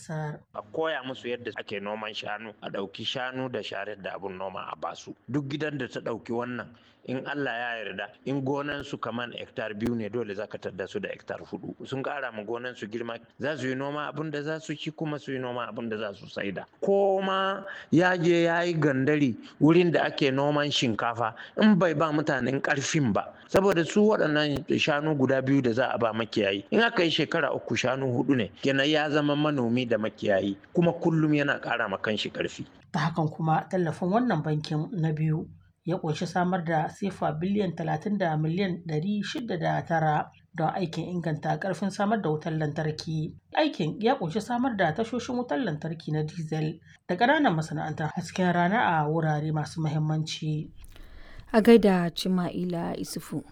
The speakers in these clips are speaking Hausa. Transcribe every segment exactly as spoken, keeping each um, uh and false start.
ƙasar. A koya musu yadda ake noman shanu, a ɗauki shanu da sharar da abun noma a basu. Duk gidan da ta ɗauki wannan in Allah ya yarda in gonan su kaman hektar biyu ne dole za ka tadda su da hektar hudu. Sun ƙara ma gonan su girma za su yi noma abun da za su ci kuma su yi noma abun da za su saida. Ko ma ya je ya yi gandari wurin da ake noman shinkafa in bai ba mutanen ƙarfin ba. Saboda su waɗannan shanu guda biyu da za a ba makiyayi in aka yi shekara uku shanu hudu ne kenan ya zama manomi da makiyayi kuma kullum yana ƙara ma kanshi ƙarfi. Ta hakan kuma tallafin wannan bankin na biyu ya ƙunshi samar da sefa biliyan talatin da miliyan ɗari shida da tara don aikin inganta ƙarfin samar da wutar lantarki. Aikin ya ƙunshi samar da tashoshin wutar lantarki na diesel da ƙananan masana'antar hasken rana a wurare masu muhimmanci. A gaida Cima'ila Isufu.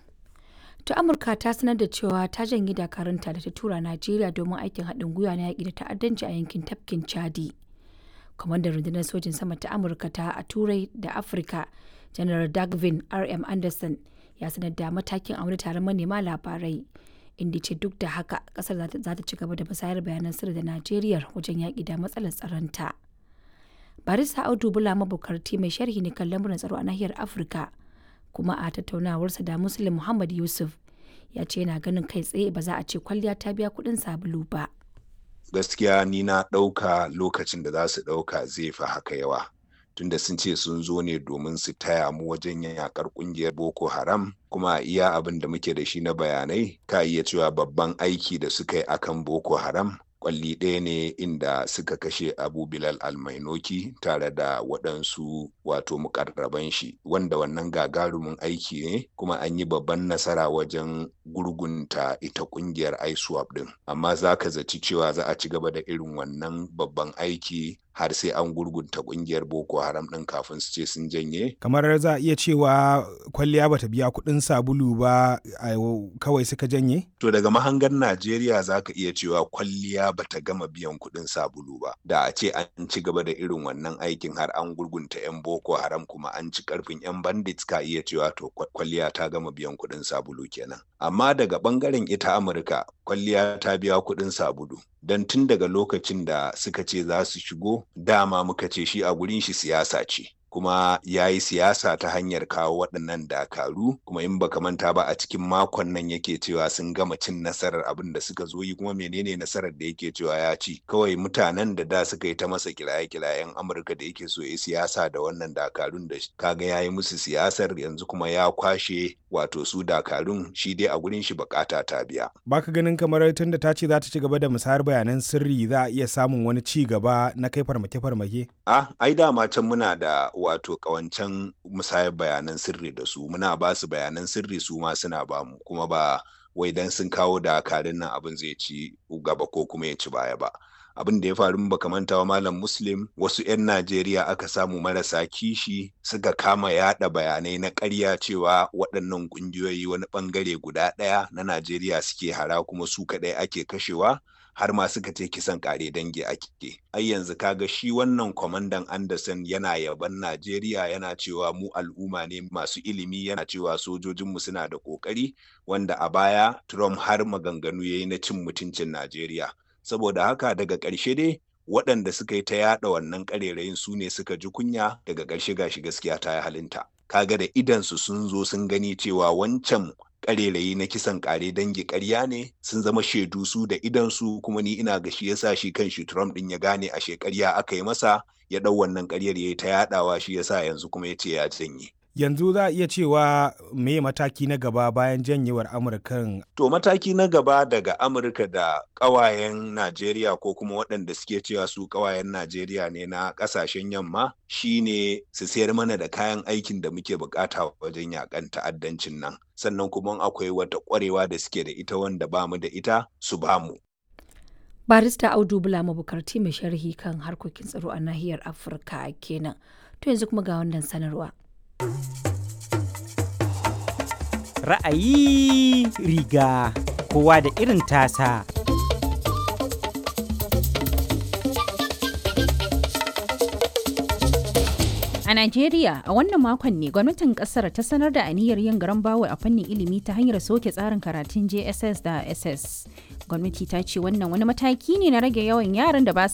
To Amurka ta sanar da cewa ta janye dakarunta da ta tura Najeriya domin aikin haɗin gwiwa na yaƙi da ta'addanci a yankin tafkin Chadi. Kwamandan rundunar sojin sama ta Amurka ta a Turai da Afirka, Janar Dagvin R M. Anderson ya sanar da matakin a wani taron manema labarai. Inda ce duk da haka kasar za ta ci gaba da musayar bayanan sirri da Najeriya wajen yaƙi da matsalar tsaronta. Barista Audu Bula Mabukarti mai sharhi ne kan lamuran tsaro a nahiyar Afirka. Kuma a tattaunawarsa da Muslim Muhammad Yusuf ya ce yana ganin kai tsaye ba za a ce kwalliya ta biya kuɗin sabulu ba. Gaskiya ni na ɗauka lokacin da za su ɗauka zai fi haka yawa. Tunda sun ce sun zo ne domin su taya mu wajen yakar ƙungiyar Boko Haram kuma iya abin da muke da shi na bayanai ka iya cewa babban aiki da suka yi akan Boko Haram kwalli ɗaya ne inda suka kashe Abu Bilal Almainoki tare da waɗansu wato mukarraban shi wanda wannan gagarumin aiki ne kuma an yi babban nasara wajen gurgunta ita ƙungiyar ISWAP ɗin amma za ka zaci cewa za a ci gaba da irin wannan babban aiki har sai an gurgunta ƙungiyar Boko Haram ɗin kafin su ce sun janye. Kamar za a iya cewa kwalliya bata biya kuɗin sabulu ba kawai suka janye? To daga mahangar Najeriya za ka iya cewa kwalliya bata gama biyan kuɗin sabulu ba. Da a ce an ci gaba da irin wannan aikin har an gurgunta 'yan Boko Haram kuma an ci karfin 'yan bandits ka iya cewa to kwalliya ta gama biyan kuɗin sabulu kenan. Amma daga ɓangaren ita Amurka kwalliya ta biya kuɗin sabulu. Don tun daga lokacin da suka ce za su shigo dama muka ce shi a gurin shi siyasa ce. Kuma ya yi siyasa ta hanyar kawo waɗannan dakaru kuma in baka manta ba a cikin makon nan yake cewa sun gama cin nasarar abin da suka zo yi kuma menene nasarar da yake cewa ya ci kawai mutanen da da suka yi ta masa kiraye-kirayen Amurka da yake so ya siyasa da wannan dakarun da kaga ya yi musu siyasar yanzu kuma ya kwashe wato su dakarun shi dai a gurin shi bukata ta biya. Baka ganin kamar tun da ta ce za ta ci gaba da musayar bayanan sirri za a iya samun wani ci gaba na kai farmake-farmake? Ah, ai dama can muna da wato kawancan musayar bayanan sirri da su muna ba su bayanan sirri su ma suna ba mu kuma ba wai dan sun kawo dakarun nan abin zai ci gaba ko kuma ya ci baya ba. Abin da ya faru baka manta wa Malam Muslim wasu 'yan Najeriya aka samu marasa kishi suka kama yada bayanai na ƙarya cewa waɗannan ƙungiyoyi wani ɓangare guda ɗaya na Najeriya suke hara kuma su kaɗai ake kashewa har ma suka ce kisan ƙare dangi ake. Ai yanzu kaga shi wannan kwamandan Anderson yana yaban Najeriya yana cewa mu al'umma ne masu ilimi yana cewa sojojinmu suna da ƙoƙari wanda a baya Trump har maganganu yayi na cin mutuncin Najeriya. Saboda haka daga ƙarshe dai waɗanda suka yi ta yaɗa wannan ƙarerayin su ne suka ji kunya daga ƙarshe gashi gaskiya ta yi halinta. Kaga da idansu sun zo sun gani cewa wancan ƙarerayi na kisan ƙare dangi ƙarya ne sun zama shaidu su da idansu kuma ni ina ga shi yasa shi kan shi Trump ɗin ya gane ashe ƙarya aka yi masa ya ɗau wannan ƙaryar ya yi ta yaɗawa shi yasa yanzu kuma ya ce ya janye. Yanzu za a iya cewa me mataki na gaba bayan janyewar Amurkan? To mataki na gaba daga Amurka da ƙawayen Najeriya ko kuma waɗanda suke cewa su ƙawayen Najeriya ne na ƙasashen yamma shine su sayar mana da kayan aikin da muke bukata wajen yakan ta'addancin nan. Sannan kuma akwai wata ƙwarewa da suke da ita wanda bamu da ita su bamu. Barista Audu Bula Mabukarti mai sharhi kan harkokin tsaro a nahiyar Afirka kenan. To yanzu kuma ga wannan sanarwa. Ra'ayi riga kowa da irin tasa. A Najeriya, a wannan makon ne gwamnatin kasar ta sanar da aniyar yin garan bawul a fannin ilimi ta hanyar soke tsarin karatun J S S da S S. Gwamnati ta ce wannan wani mataki ne na rage yawan yaran da ba